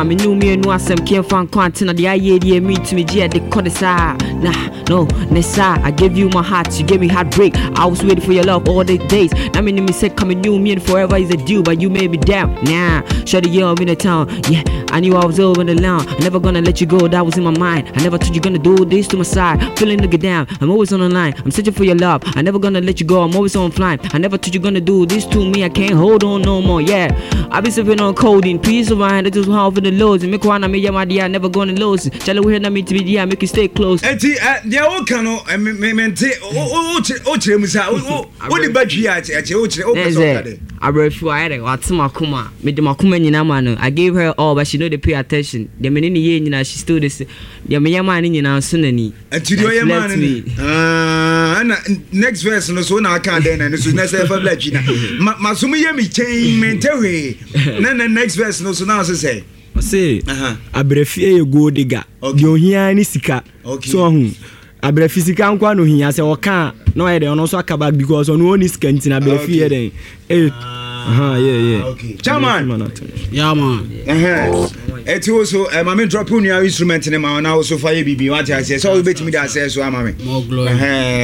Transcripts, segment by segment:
ma me ne wo mmienu asɛm kɛmfa nkɔ antena deɛ ayɛ deɛ mentumi gye ɛde kɔ de saa nah no ne saa I gave you my heart you gave me heartbreak I was waiting for your love all the days na me ne me sɛ ka me ne wo mmienu forever is a deal but you made me down nah shawty yeah I'm in the town yeah I knew I was over the line I never gonna let you go that was in my mind I never thought you gonna do this to my side feeling nigga down I'm always on the line I'm searching for your love I never gonna let you go I'm always on flying I never thought you gonna do this to me I can't hold on no more yeah I be sipping on codeine peace of mind that is how for the loads me kwana me yeah my dear never gonna lose Charlie we hear me to be yeah make you stay close. Eti eh, deɛ woka no eh, mente wokyerɛ mu sa wode ba twi a ɛkyɛ wokyerɛ wopɛ sɛ woka dɛ abrɛfi ayɛ dɛ wate makoma mede makoma nyinaa ma no I gave her all but she no dey pay attention deɛ mene ne yɛ nyinaa she still dey deɛ meyɛ maa no nyinaa nso n'ani Nti deɛ ɔyɛ maa no ni ɛna next verse no so na aka dɛn na no so na sɛ ɛfa bla twi na masom yɛ me kyɛn mente hwee na na next verse no so na ɔse sɛ ɔse abrɛfie yɛ gold digger deɛ ohia ne sika so ɔho abrɛfi sika nko na ohia sɛ ɔka a na ɔyɛ dɛn ɔno nso aka back because ɔno ɔni sika nti na abrɛfi yɛ dɛn eh aha yeah yeah okay chairman yeah man ɛti wo so eh, ma me drop wo nua instrument ne ma na wo so fa yɛ biribi wate aseɛ sɛ wobɛtumi de asɛ so ama me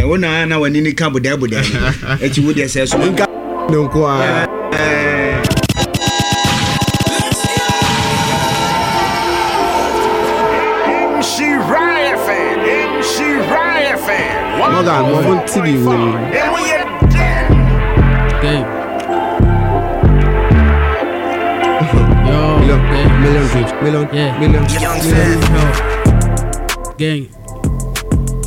wo na na w'ani ne ka bodɛɛ bodɛɛ ɛti wo deɛ sɛ so nka no nko a Morgan, mo ti bi wo. Gang. Yo, million, gang. Million dreams, million, yeah. Million, million. Gang.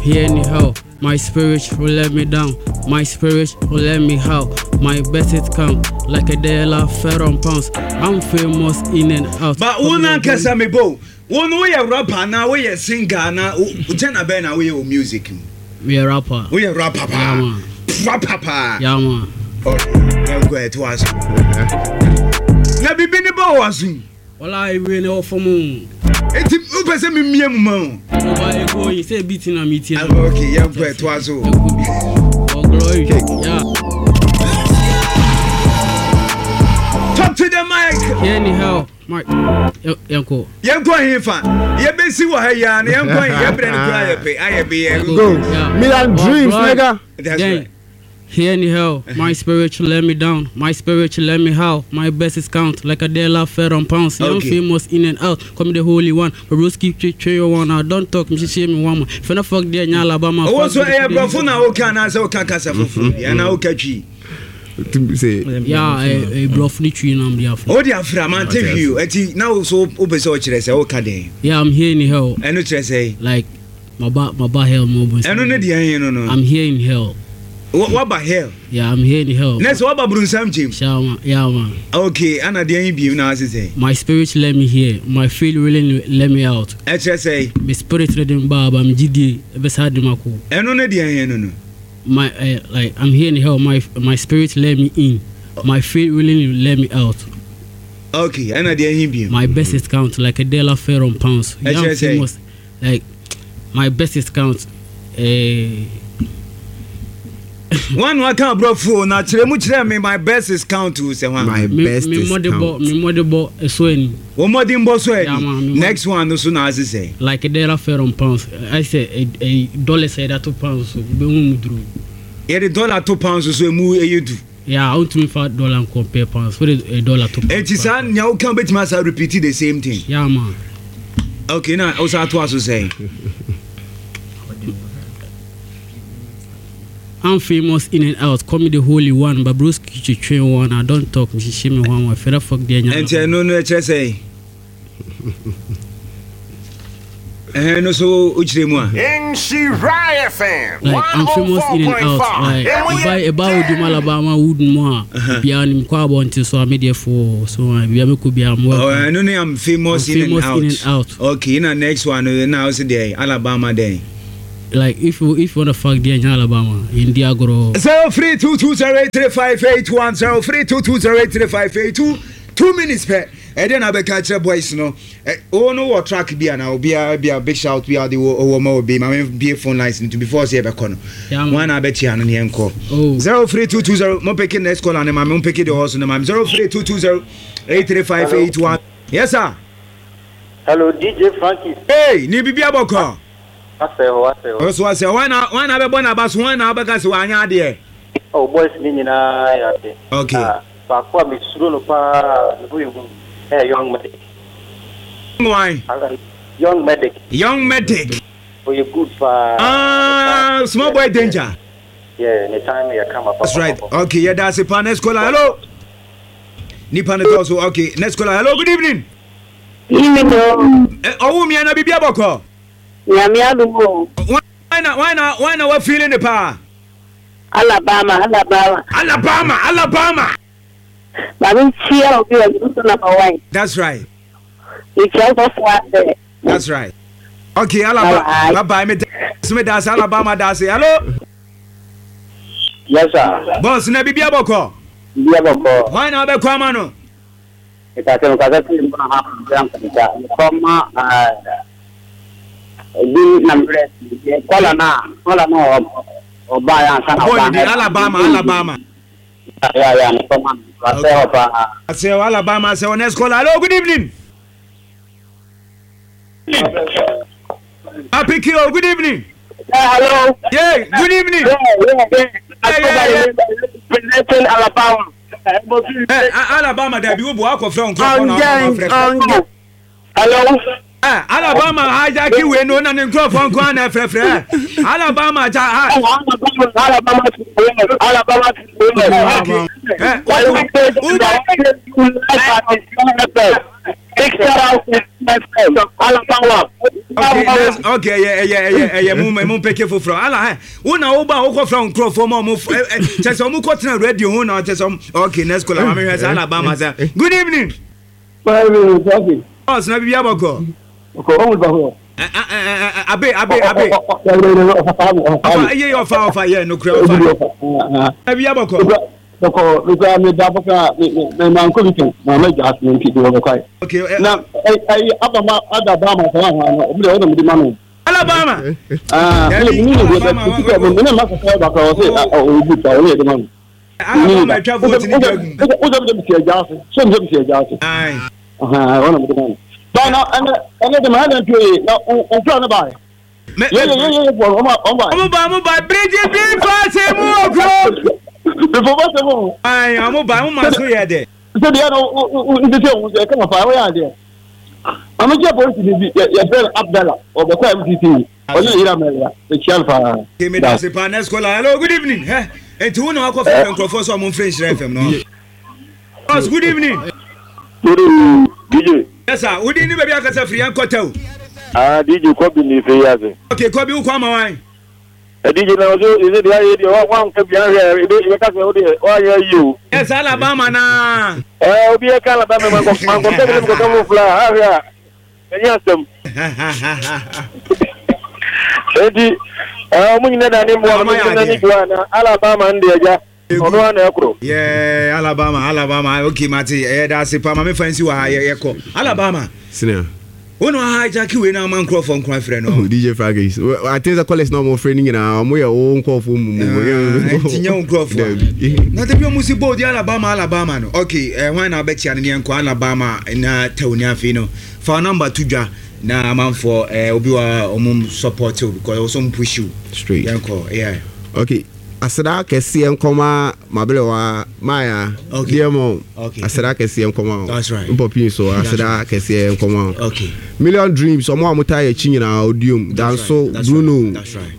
Here anyhow, my spirit will let me down. My spirit will let me how. My best it come like a de la fair on pounds. I'm famous in and out. But wo nankasa me bo, wo no woyɛ rapper na woyɛ singer na wo bɛn na woyɛ wɔ music mu? Me rapper. Woyɛ rapper paa. Yeah, man. Rapper paa. Yeah, man. Yɛnkɔ ɛto aso. Na bibi ne bɔ wɔ aso yi. Wala ewe ne wɔ fam o. Eti wopɛ sɛ memie mu ma o. Oba ego yi sɛ bi ti na mi ti na. Okay, yɛnkɔ ɛto aso. Oh glory. Yeah. Talk to the mic. Anyhow, mic. Yɛnkɔ. Yɛnkɔ hefa? Yɛbɛsi wɔ ha yi ara na yɛnkɔ he? Yɛbrɛ no koraa yɛ pɛ. Ayɛ bi yɛ. Go. Million dreams, nigga. That's right. Here in hell, my spirit let me down. My spirit let me how. My best is count like a de la fair on pounds. Young famous in and out. Call me the holy one. But Broski tree one. I don't talk. Me she me one. Finna fuck there nya Alabama. Oh, so eh brofo na wo ka na sɛ wo ka kasa foforo bi ana wo ka twi. Yeah, eh brofo ni twi na am afro. O di afra man te hwi o. Eti na wo so wo pɛ sɛ o kyerɛ sɛ wo ka den. Yeah, I'm here in hell. Ɛno kyerɛ sɛ like maba maba hell mo bo. Ɛno ne deɛ ɛhe no no. I'm here in hell. Waba hell. Yeah, I'm here in hell. Ne sɛ waba burunsam gyem. Yeah, yeah man. Okay, ana deɛ ɛhe biem na ase sɛ. My spirit let me here, my faith really let me out. Ɛkyerɛ sɛ. My spirit let me ba ba me gyidie ɛbɛsa de mako. Ɛno ne deɛ ɛhe no no. My like I'm here in hell, my spirit let me in, my faith really let me out. Okay, ɛna deɛ ɛhe biem. My best is count like a dollar fair on pounds. Ɛkyerɛ sɛ. Like my best is count. Eh. One one kan aborɔfo na kyerɛ mu kyerɛ me my best is count o sɛ hwan. My best is count. Me mmɔdebɔ ɛso ani. Wɔn mmɔdenbɔ so ani. Next one no so na ase sɛ. Like a dollar fair on pounds. I say a dollar sɛ yɛde ato pounds so bɛhu mu duru. Yɛde dollar to pounds so emu ɛyɛ du. Yeah, wontumi fa dollar compare pounds. Wode a dollar to pounds. Eti saa nea woka wobɛtumi asa repeat the same thing. Yeah man. Okay, na wosa atoa so sɛn? I'm famous in and out, call me the holy one, but broski twetwe one, I don't talk, mehyehyɛ me ho ama, fɛrɛ fuck deɛ nya. Ɛnti ɛno no ɛkyerɛ sɛn? Ɛhɛn no so wokyerɛ mu a. Nhyira FM Like I'm famous in and out, like ɛba ɛba odum Alabama wood mu a, biara nim kɔ abɔnten so a me deɛ fo so a bia mekɔ biara mo Oh, ɛno ne I'm famous, I'm in, and famous out. in and out. Okay, na next one no na wo se deɛ Alabama dɛn? Like if you wanna fuck deɛ nya Alabama, yɛndi agorɔ. 0322083581 0322083582 2 minutes pɛ ɛdeɛ na bɛka kyerɛ boys no. Wo no wɔ track bi ana obiara bi a big shout bi a ɔde wɔ ma obi ma me bie phone lines no to before sɛ yɛbɛkɔ no. Wɔn na abɛkyia no ne yɛnkɔ. 03220 mo peke next caller ne ma me mo peke the horse ne ma me 0322083581. Yes sir. Hello DJ Frankie. Hey, ni bibi abɔkɔ. Asɛ hɔ, asɛ hɔ. Ɔso asɛ hɔ na wɔn na abɛbɔ n'aba so wɔn na abɛka sɛ wɔanyɛ adeɛ. Oh boys ne nyinaa yɛ ade. Okay. Na baako a mesuro no paa ne ho yɛ hu ɛyɛ Young Medic. Why? Young Medic. Young Medic. Ɔyɛ good paa. Ah, small boy danger. Yeah, ne time yɛ kama papa. That's right. Okay, yɛ da ase paa next caller. Hello. Nipa ne tɔ so. Okay, next caller. Hello, good evening. Evening o. Ɔwɔ mi ana bibi abɔkɔ. Nyame adum o. Why na why na why na wa feeling ne paa? Alabama, Alabama. Alabama, Alabama. Maame nkyia obi wɔ nso number one. That's right. Nkyia sɔfo asɛ. That's right. Okay, Alabama. Bye bye. Me me das Alabama das. Hello. Yes sir. Boss na bibi abɔkɔ. Bibi abɔkɔ. Why na abɛkɔ ama no? Mekasa mekasa fi mu na ha bra nkwanta. Mekɔ ma ebi na mbrɛ kɔla na kɔla na ɔba ya ansa na ɔba. Ɔbɔ Alabama Alabama. Ya ya mekɔ ma asɛ hɔ paa. Asɛ hɔ Alabama asɛ hɔ next caller. Hello, good evening. Happy Kio, good evening. Yeah, hello. Yeah, good evening. Yeah, yeah, yeah. Yeah, yeah, yeah. Presenting Alabama. Eh, Alabama dabi wo bo akɔfrɛ wo nkurɔfoɔ na wɔn afrɛfrɛ. Hello. Eh, Alabama hijacking wei no na ne nkurɔfoɔ nko ara na ɛfrɛfrɛ. Alabama ja ha. Alabama, Alabama, Alabama. Okay. Eh, Okay, okay, yeah, yeah, yeah, yeah, mu mu mpeke foforɔ ala hɛ wo na wo ba wo kɔ fira nkurɔfoɔ ma ɔmo ɛ ɛ kyɛ sɛ ɔmo kɔ tena radio ho na kyɛ sɛ ɔmo okay next caller maame hwɛ sɛ Alabama sɛ good evening. Ɔs na bibi abɔkɔ. Abe abe abe. Ɔfa iye ɔfa ɔfa yɛ nukuri ɔfa. Na bibi abɔkɔ. Bɔkɔ mekura me da bɔkɔ me me ma nkɔ bi tɛn ma ma gya ase nti de wɔ bɔkɔ ayi. Okay. Na ayi abama adabama sɛ wɔn ahɔn no ɔmo de ɔmo de ma no. Alabama. Ah, mi ni deɛ bɛ ti sɛ mi ne ma kɔkɔ ba kɔ ɔsɛ ɔyɛ bi ta ɔyɛ de ma no. Alabama atwa vote ni bi agu. O sɛ mi sɛ mi si ɛgya ase sɛ mi sɛ mi si ɛgya ase. Ayi. Ɔhɔn ɔna mi de ma no. Ba na ɛnɛ ɛnɛ de ma ɛnɛ ntuo yi na nfura ne ba yɛ. Yɛ yɛ yɛ yɛ fɔ ɔmo ɔmo ba. Ɔmo ba ɔmo ba biriji bi fa se mu wɔ kuro. Before ba se mu. Ayi ɔmo ba ɔmo ma so yɛ dɛ. Sɛ deɛ no nti sɛ ohun sɛ kama fa ɔyɛ adeɛ. Maame kyɛ polisi ni bi yɛ yɛfrɛ no Abdallah ɔbɛkɔ MTT ɔne ne yere Amelia mekyia no paa. Okay, me da se pa next caller. Hello, good evening. Hɛ, enti wo na wakɔ fɛ nkurɔfoɔ sɛ ɔmo mfrɛ Nhyira FM no. Boss, good evening. Good evening, DJ. Yes sir, wo din ne baabi akasa firi yɛn kɔtɛ o. Ah, DJ Kobi ni fɛ yi ase. Okay, Kobi wokɔ ama wan? DJ na ɔsɛ ɛsɛ deɛ ayɛ deɛ wanka bi ahwɛ ebe ebe kasa wo deɛ wanyɛ yie o. Yes, Alabama na. Ɛɛ obi yɛ ka Alabama mankɔ mankɔ kɛ mi kɔ kɛ mo fila ahwɛ a ɛnyɛ asɛm. Eti ɛɛ ɔmo nyina da ne mmoa ɔmo nyina ne dua na Alabama no deɛ agya ɔno ara na ɛkoro. Yeah, Alabama, Alabama. Okay, mate. Ɛyɛ da ase pa. Maame fa nsi wɔ ha yɛ yɛkɔ. Alabama. Senior. Wo na hijack wei na ama nkurɔfoɔ nko afrɛ no. Oh, DJ Fragis. I think the college na ɔmo frɛ no nyinaa ɔmo yɛ wo nkurɔfoɔ mu mu. Nti nyɛ wo nkurɔfoɔ. Dabi. Na dabi ɔmo si bold Alabama Alabama no. Okay, eh, hwan na abɛkyia no ne yɛnkɔ Alabama na tɛw ne afei no. Fa number to dwa na amanfoɔ eh, obi wa ɔmo support you because ɔmo ɔmo push you. Straight. Yɛnkɔ, yeah. Okay. Aseda kɛseɛ nkɔma m'aberewa Maya Okay. dear mom Okay. aseda kɛseɛ nkɔma wo That's right. mpɔpii so That's aseda right. kɛseɛ nkɔma wo Okay. Million Dreams ɔmo a ɔmo taa yɛ akyi nyinaa Odiom That's Danso right. That's Bruno right. That's right.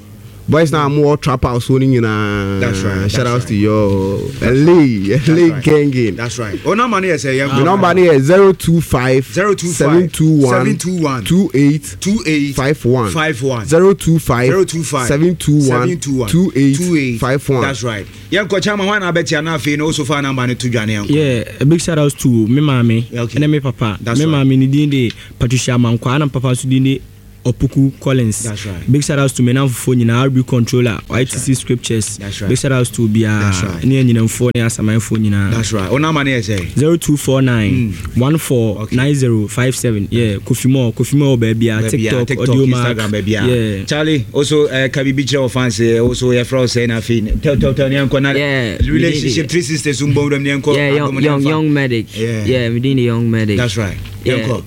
boys na ɔmo wɔ trap house hɔ no nyinaa That's right. shout That's out right. to your LA That's LA right. gangin That's right. O number no yɛ sɛ yɛnkɔ. Me number no yɛ 025 025 721 721 28 28 51 51 025 025 721 721 28 51. That's right. Yɛnkɔ Chama hwan na abɛkyia na afei no also fa number no to dwa ne yɛnkɔ. Yeah, a big shout out to me maame Okay. ɛne me papa. That's Me right. maame ne din de Patricia Amankwa ɛna me papa nso din de Opoku Collins. That's right. Big shout out to me namfofoɔ nyinaa, RB Controller, YTC Scriptures. That's right. Big shout out to obiara That's right. ne anyinamfoɔ ne asamanfoɔ nyinaa. That's right. O number no yɛ sɛ. 0249 14 Okay. 9057. Yeah, Kofi Mo, Kofi Mo wɔ baabiara, Baabiara, TikTok, TikTok, Audio Mark. Instagram, baabiara. Yeah. Charlie, also ka biribi kyerɛ wo fans eh, also yɛfrɛ wo sɛ na afei tell tell tell ne yɛnkɔ na Yeah, relationship three sisters mbɔ wuram ne yɛnkɔ Yeah, young, adom ne young, yɛmfa. young medic. Yeah. Yeah, we doing the young medic. That's right. Yeah. Yɛnkɔ.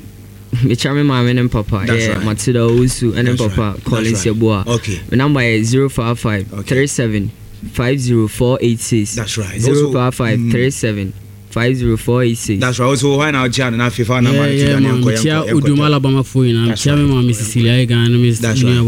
Mekyia me maame ne papa. That's Yeah, right. Matilda Owusu ne That's papa right. Collins That's right. Yeboah. Okay. Me number yɛ 055 37 50486. That's right. Also- 055 37 50486. That's right. Also, why now, Jan and Afifa? Yeah, yeah, man. Mekyia Odum Alabama foɔ nyinaa. That's Mekyia me maame Cecilia Egan ne me That's nua right.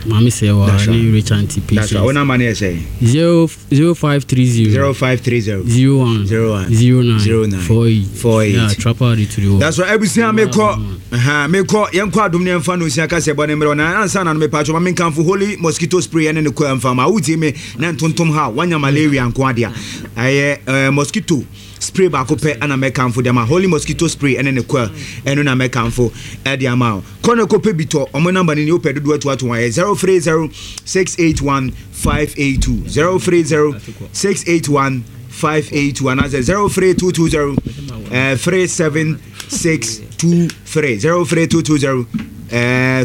wa maame Sɛwa That's ne right. Rich Auntie That's right. What Patience. number is say? 0530 0530 01 01 09 09 48 48. Yeah, Trapper to the world. That's right. Abusua mekɔ. Aha, mekɔ. Yɛnkɔ adom ne yɛmfa no osia kasɛ bɔ ne mmerɛ na ansa na no mepatwo ma menkamfo holy mosquito spray ɛne ne kɔ ɛmfa ma wotie me na ntontom ha wanya malaria nko adea ɛyɛ mosquito spray baako pɛ ɛna mɛkamfo de ama holy mosquito spray ɛne ne kɔ ɛno na mɛkamfo ɛde ama wo kɔ ne kɔpɛ bi tɔ ɔmo namba no ni wopɛ dodoɔ atoato wɔn ɛyɛ 030 681 582 030 681 582 anaasɛ 03220 37623 03220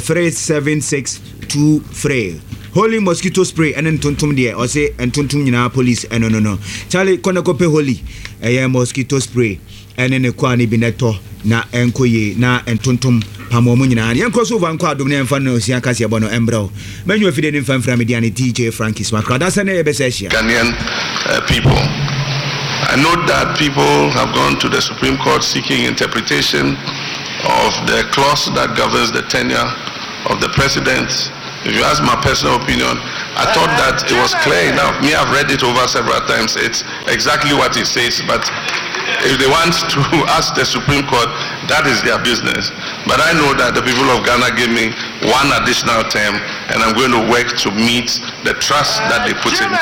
37623 holy mosquito spray ɛne ntontom deɛ ɔse ntontom nyinaa police ɛno no no Charlie kɔ ne kɔpɛ holy ɛyɛ mosquito spray ɛne ne kɔa no bi ne tɔ na ɛnkɔ yie na ntontom pam mu nyinaa yɛnkɔ so over nkɔ adom ne yɛmfa no osia kaseɛ bɔ no ɛmbrɛ wo mɛnwu afidie ne mfa mfira media ne DJ Frankie Smakra da sɛ ne yɛbɛsɛ ahyia. Ghanaian people. I note that people have gone to the Supreme Court seeking interpretation of the clause that governs the tenure of the president. If you ask my personal opinion, I thought that it was clear enough. Me, I've read it over several times. It's exactly what it says, but if they want to ask the Supreme Court, that is their business. But I know that the people of Ghana gave me one additional term, and I'm going to work to meet the trust that they put in me.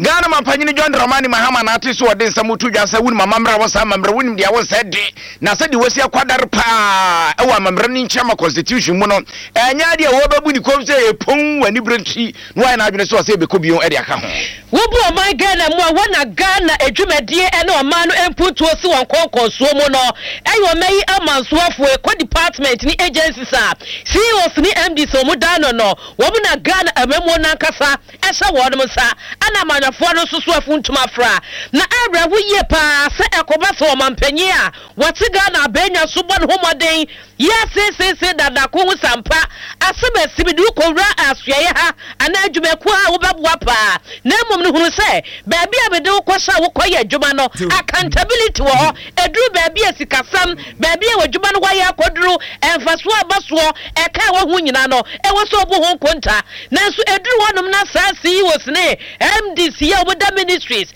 Ghana Mampanyini John Dramani Mahama na ate so ɔde nsɛm to dwa sɛ wonim amammerɛ a wɔ saa amammerɛ wonim deɛ wɔ sɛ de na sɛdeɛ wɔasi akwadare paa ɛwɔ amammerɛ no nkyɛn ma constitution mu no ɛnyɛ adeɛ a wɔbɛbu ne kɔm sɛ ɛpɔn wɔ anibere nti na wɔayɛ n'adwene sɛ ɔsɛ ɛbɛkɔ bio de aka ho. Wobu ɔman Ghana mu a wɔ na Ghana adwumadie ne ɔman no mpuntuo si wɔn nkɔnkɔnsoɔ mu no ɛyɛ ɔman yi amansoafoɔ ɛkɔ department ne agencies a CEOs ne MDs a wɔn da ano no wɔn na Ghana amammuo no ankasa ɛhyɛ wɔnom nsa ɛna amanyɔfoɔ no nso so afuntum afra. Na awerɛho yie paa sɛ ɛkɔba sɛ ɔmanpanyin a wɔte Ghana abɛnwa so bɔ ne ho mmɔden yi aseeseesei dada ko ho sampa asɛm asi mede wo kɔwura asoɛeɛ ha anaa adwumakuo ha a wobɛboa paa na mmom no hunu sɛ baabi a mede wo kɔhyɛ a wokɔyɛ adwuma no accountability wɔ hɔ ɛduru baabi a sikasɛm baabi a w'adwuma no wayɛ akɔduru mfasoɔ a ɛba soɔ ɛka a ɛwɔ ho nyinaa no ɛwɔ sɛ wobu ho nkonta. Nanso ɛduru hɔnom na saa CEOs ne MDs yi a wɔda ministries,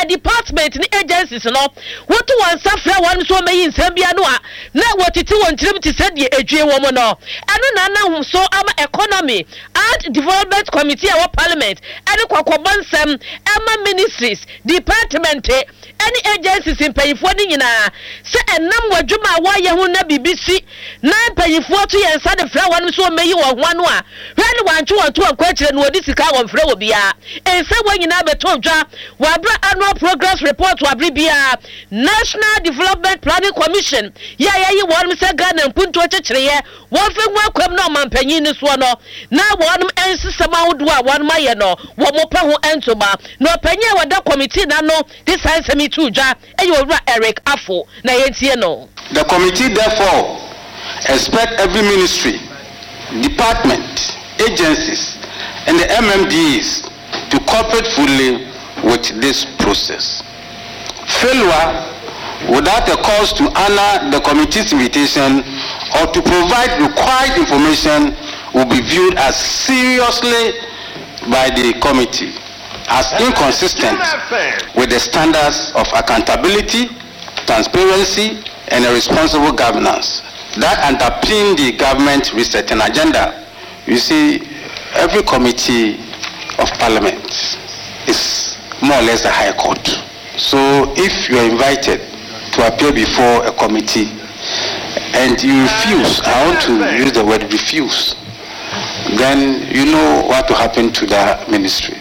department ne agencies no, woto wɔn nsa frɛ wɔn sɛ wɔmmɛyi nsɛm bi ano a, na wɔtete wɔn tirim te sɛ deɛ ɛdwie wɔn no. Ɛno na anam so ama Economy and Development Committee a ɛwɔ Parliament de kɔkɔbɔ nsɛm ma ministries, department ne agencies mpanyinfoɔ no nyinaa sɛ ɛnam wɔn adwuma a wɔyɛ ho na biribi si na mpanyinfoɔ to yɛn nsa de frɛ wɔn sɛ wɔmmɛyi wɔn ho ano a, hwɛ ne wɔantwe wɔn to wɔn kɔ akyire na wɔdi sika a wɔmfrɛ obiara. Nsɛm wei nyinaa bɛtɔ dwa wɔ abere a Annual Progress Report wɔ abere biara National Development Planning Commission yɛ a yɛayi wɔn sɛ Ghana mpuntuo kyekyereɛ wɔmfa ngu akwam na ɔmanpanyin no soɔ no na wɔn nsesɛm ahodoɔ a wɔn ayɛ no wɔn pɛ ho ntoma. Na ɔpanyin a wɔda committee no ano de saa nsɛm yi too dwa yɛ Owura Eric Afful na yɛntie no. The committee therefore expect every ministry, department, agencies and the MMDAs to cooperate fully with this process. Failure without a cause to honor the committee's invitation or to provide required information will be viewed as seriously by the committee as inconsistent with the standards of accountability, transparency, and a responsible governance that underpin the government resetting agenda. You see, every committee of parliament is more or less a high court. So if you are invited to appear before a committee and you refuse, I want to use the word refuse, then you know what will happen to that ministry.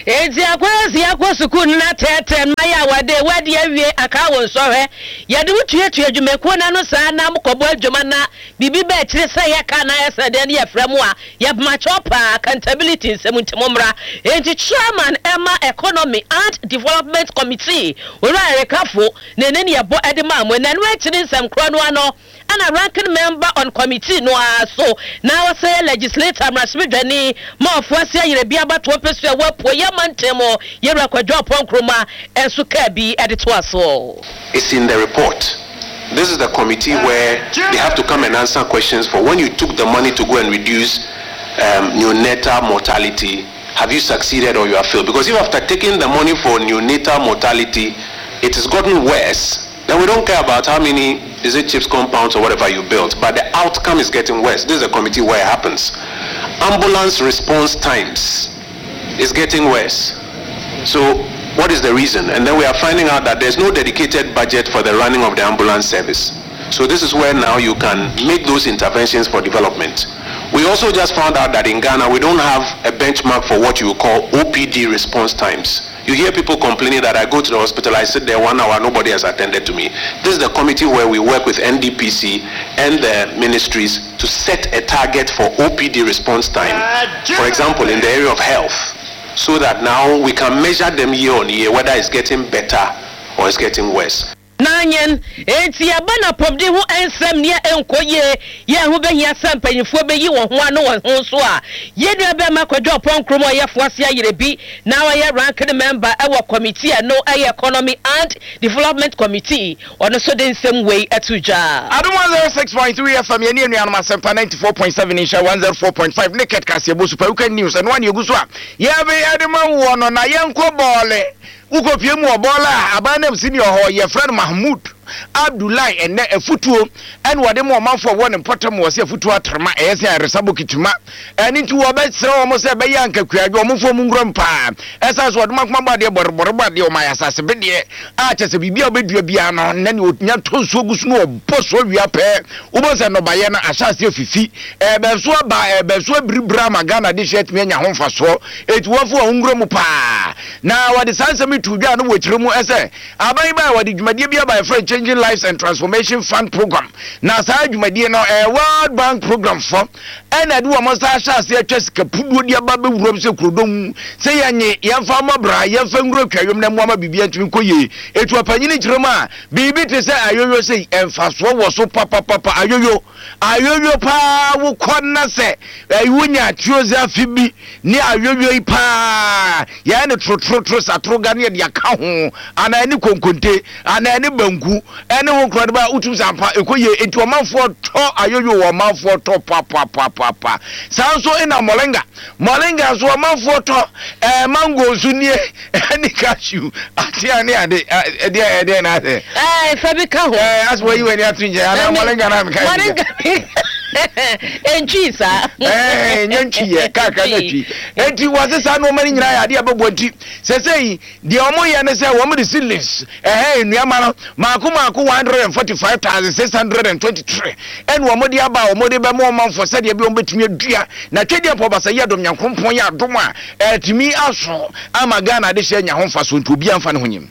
Enti akwansi akɔ sukuu no na tɛɛtɛɛ mma yɛ a wɔde wadi awie aka wo nsɔhwɛ. Yɛde wo tuatua adwumakuo no ano saa na mokɔbɔ adwuma na biribi ba akyire sɛ yɛka anaa yɛsɛ dɛn ne yɛfrɛ mo a, yɛpoma kyɛw paa, accountability nsɛm nti mommra. Enti Chairman ɛma Economy and Development Committee, Owura Eric Affo, na ɛne ne yɛbɔ de maa mo. Ɛno akyi ne nsɛm korɔ no ano. Saa na Ranking Member on Committee no ara so na ɔsan yɛ Legislator, Mmarahyɛbadwani, ma Ofoase Ayerɛbi abatoɔ mpɛsua wɔ Apueeɛ Mantam mu, Yɛwura Kwadwo Ampong Nkrumah nso kaa bi de toa soɔ. It's in the report. This is the committee where they have to come and answer questions for when you took the money to go and reduce um, neonatal mortality, have you succeeded or you have failed? Because if after taking the money for neonatal mortality, it has gotten worse, then we don't care about how many, is it chips compounds or whatever you built, but the outcome is getting worse. This is a committee where it happens. Ambulance response times is getting worse. So what is the reason? And then we are finding out that there's no dedicated budget for the running of the ambulance service. So this is where now you can make those interventions for development. We also just found out that in Ghana, we don't have a benchmark for what you call OPD response times. You hear people complaining that I go to the hospital, I sit there one hour, nobody has attended to me. This is the committee where we work with NDPC and the ministries to set a target for OPD response time. For example, in the area of health, so that now we can measure them year on year, whether it's getting better or it's getting worse. Nanyen, enti ɛba no apɔmuden ho nsɛm nea ɛnkɔ yie yɛ ɛho bɛhia sɛ mpanyinfoɔ bɛyi wɔn ho ano wɔ ho nso a, yɛn nua bɛɛma Kwadwo Ɔpɔn Nkrumah ɔyɛ Foase Ayerɛbi na ɔyɛ ranking member wɔ committee a ɛno yɛ Economy and Development Committee, ɔno nso de nsɛm wei ato dwa. Adom 106.3 FM yɛne anuanom Asɛmpa 94.7 Nhyira 104.5 ne Kɛt Kaseɛbɔ Super Weekend News ɛno a na yɛgu so a yɛde ma woɔ no na yɛnkɔ bɔɔle Wokɔpue mu wɔ Bɔɔla a aban nam sini wɔ hɔ, yɛfrɛ no Mahmood Abdullahi ɛnnɛ afutuo ɛna wɔde ma ɔmanfoɔ a wɔwɔ ne mpɔtam wɔ sɛ afutuo atrema ɛyɛ sɛ ayaresa bokiti ma ɛno nti wɔbɛsrɛ wɔn sɛ ɛbɛyɛ anka kuadwo wɔn mfa wɔn nwura mu paa ɛsan so wɔde makoma bɔ adeɛ bɔrebɔre bɔ adeɛ wɔn ayɛ asase bedeɛ a kyɛ sɛ biribi a wobɛdua biara no na ne ɔnya tɔ nsuo gu so no ɔbɔ so awia pɛɛ wobɛhu sɛ nnɔbaeɛ no ahyɛ aseɛ fifi ɛbɛn so aba ɛbɛn so abiribiri ama Ghana de hyɛ atumi anya ho mfasoɔ ɛti wɔmfa wɔn nwura mu paa Na wɔde saa nsɛm yi too dwa no wɔ kyerɛ mu sɛ aban yi bae a wɔde dwumadie bi aba a yɛfrɛ no Changing Lives and Transformation Fund Program. Na saa dwumadie no ɛyɛ World Bank program fɔ ɛna ɛde wɔn nsa ahyɛ aseɛ atwa sika puduo de aba bɛwuram sɛ kurodɔm mu sɛ yɛnye yɛmfa mmɔ bra yɛmfa nwura twayom na mmoa ma biribi ntumi nkɔ yie. Ɛtu ɔpanyini kyerɛ mu a biribi te sɛ ayoyo sei mfasoɔ wɔ so papapapa ayoyo ayoyo paa wokɔ na sɛ wonya atuoze bi Ne ayoyoi paa, yɛyɛ no torotoro satoroga ne yɛde aka ho, anaa ɛne konkonte, anaa ɛne banku, ɛne ho korɔ de ba wotum sɛ ampa ɛkɔ yie. Enti ɔmanfoɔ tɔ ayoyo wɔ ɔmanfoɔ tɔ papapapapa. Saa nso na moringa, moringa nso ɔmanfoɔ tɔ, ɛɛ mango nso nie, ɛne cashew, atea ne ade, ɛdeɛ ɛdeɛ na asɛ. Ɛɛ fa bi ka ho. Ɛɛ asɛ wɔyi w'ani ato nkyɛn anaa moringa na meka. Moringa. Ɛntwii saa. Ɛɛ nyɛ ntwiiɛ kakra na twi. Enti wɔse saa nneɛma no nyinaa yɛ adeɛ a ɛbɛboa nti sɛsɛyi deɛ wɔyɛ ne sɛ wɔn de seedlings ɛhɛn nnuama no maako maako 145,623 ɛna wɔn de aba a wɔn de bɛma ɔmanfoɔ sɛdeɛ bi wɔn bɛtumi adua na twɛdeɛ mpa ɔbasa yi adom nyankoropɔn yɛ adom a ɛtumi aso ama Ghana adehyɛ anya ho mfasoɔ nti obiara mfa ne ho nyim.